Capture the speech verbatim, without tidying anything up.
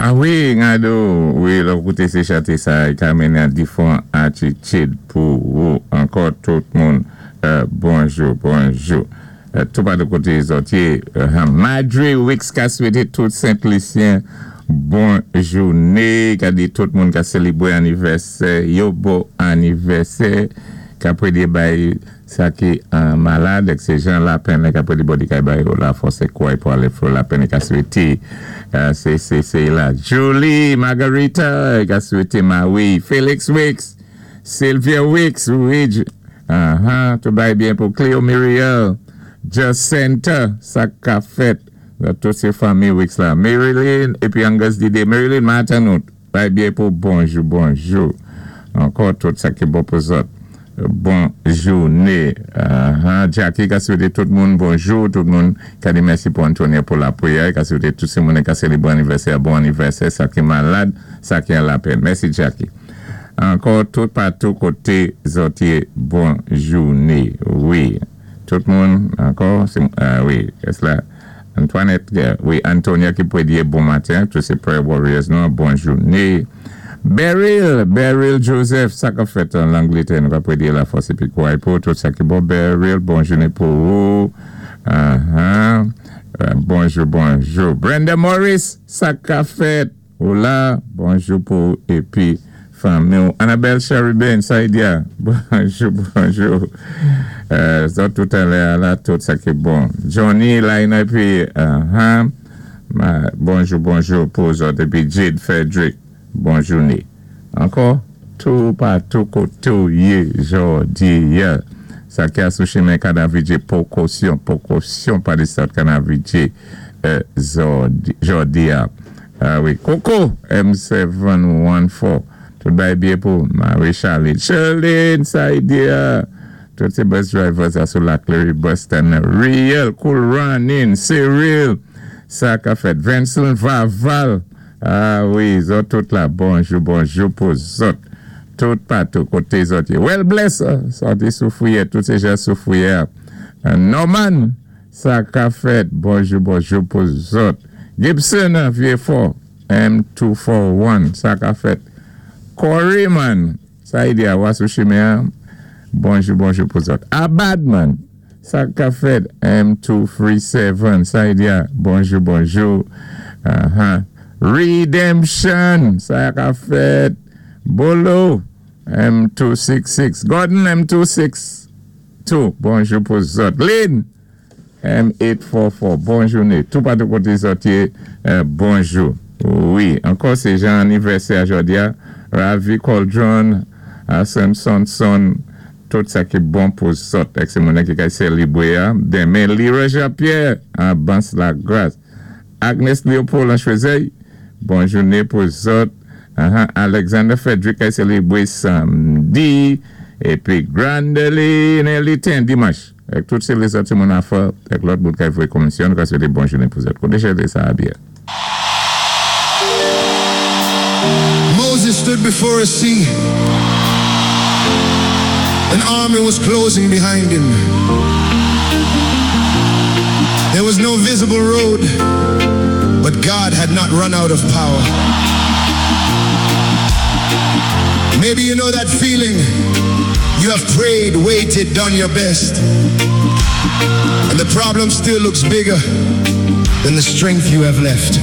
Ah wi, Ngado, wi, lò kouté sé chanté sa, i ka mennen difwan atitid pou ou. Ankò tout moun, euh, bonjou, bonjou. Euh, tou pa de koté zòt yé, euh, Madre Wicks ka swété tout Sent-Lisyen bon jouné, ka di tout moun ka sélébwé anivèsè, yo bon anivèsè, ka pwédyé bay sa ki an malad, ek sé jan la pen ka pwédyé bodi kay bay yo la fòs é kouway pou alé fò la pen ka swété, sé sé sé la. Julie Margarita ka swété Maui, Felix Wicks, Sylvia Wicks, wi, uh-huh, tout bay byen pou Cleo Muriel, Jacinta, sa ka fèt, tout sé fanmi Wicks la. Marilyn, épi Angus Dide, Marilyn Matanout, bay byen pou bonjou, bonjou. Ankò tout sa ki bon pou zòt. Bon jouné. Uh-huh. Jackie ka swété tout moun bonjou, tout moun ka di mèsi pou Antonia pou la pwiyè, ka swété tout sé moun ka sélébwé anivèsè, bon anivèsè, sa ki malad, sa ki an lapèn. Mèsi Jackie. Ankò tout patou koté zòt yé bon jouné. Wi. Tout moun ankò, uh, wi, es la Antoinette, wi, Antonia ki pwédyé bon maten, tout sé prayer warriors nou, bon jouné. Beryl, Beryl Joseph, sa ka fèt an Langlétè, nou ka pwédyé la fòs épi kouway pou, tout sa ki bon, Beryl, bon jouné pou ou. Uh-huh. Uh, bonjou, bonjou. Brenda Morris, sa ka fèt, ou la, bonjou pou épi fanmi ou. Annabelle Cherubin, Saïdia, bonjou, bonjou. Euh, zòt tout alè la, tout sa ki bon. Johnny, Laina, épi, uh-huh. Bonjou, bonjou pou zòt, épi Jade Frederick. Bon jouné. Ankò, tou patou koté ou yé jòdi a. Sa ki a sou chimen Kanavidjé, pwékosyon, pwékosyon pa di sòt Kanavidjé jòdi a. Ah wi, Coco, M sept one four. Tout bay byen pou Marie Charlene. Charlene, Saïdia. Tout sé bus drivers a sou La Clery Bus stand. Real, Cool Running, Cyril. Sa ka fèt. Vincent Vaval. Ah wi, zòt tout la, bonjou, bonjou pou zòt. Tout patou koté zòt. Well bless, sòti sou Fouyè, tout sé jan sou Fouyè. Norman, sa ka fèt, bonjou, bonjou pou zòt. Gibson, Vieux-Fort, M two four one, sa ka fèt. Corey man, sa y di a wasou chimen, bonjou, bonjou pou zòt. Abadman, sa ka fèt, M two three seven, sa y di a, bonjou, bonjou. Uh-huh. Redemption, sa ka fèt. Bolo, M two six six. Gordon, M two six two. Bonjou pou zòt. Lynn, M eight four four. Bonjou né. Tou patou koté zòt yé, bonjou. Wi, ankò sé jan anivèsè a jòdi a. Ravi Coldron, Hassan Sonson, tout sa ki bon pou zòt. Ek sé moun ki kay sélébwé a. Denmen, Leroy Jean-Pierre, an Bans la Grâce. Agnes Léopold an Choiseuil, bon jouné pou zòt. Uh-huh. Alexander Frederick kay sélébwé samdi. Épi Grandeline Elitin dimanch. Ek tout sé lézòt sé moun afè, ek lòt bout kay voyé komisyon, ka swété bon jouné pou zòt. Koté chanté sa a byen. Moses stood before a sea. An army was closing behind him. There was no visible road, but God had not run out of power. Maybe you know that feeling. You have prayed, waited, done your best, and the problem still looks bigger than the strength you have left.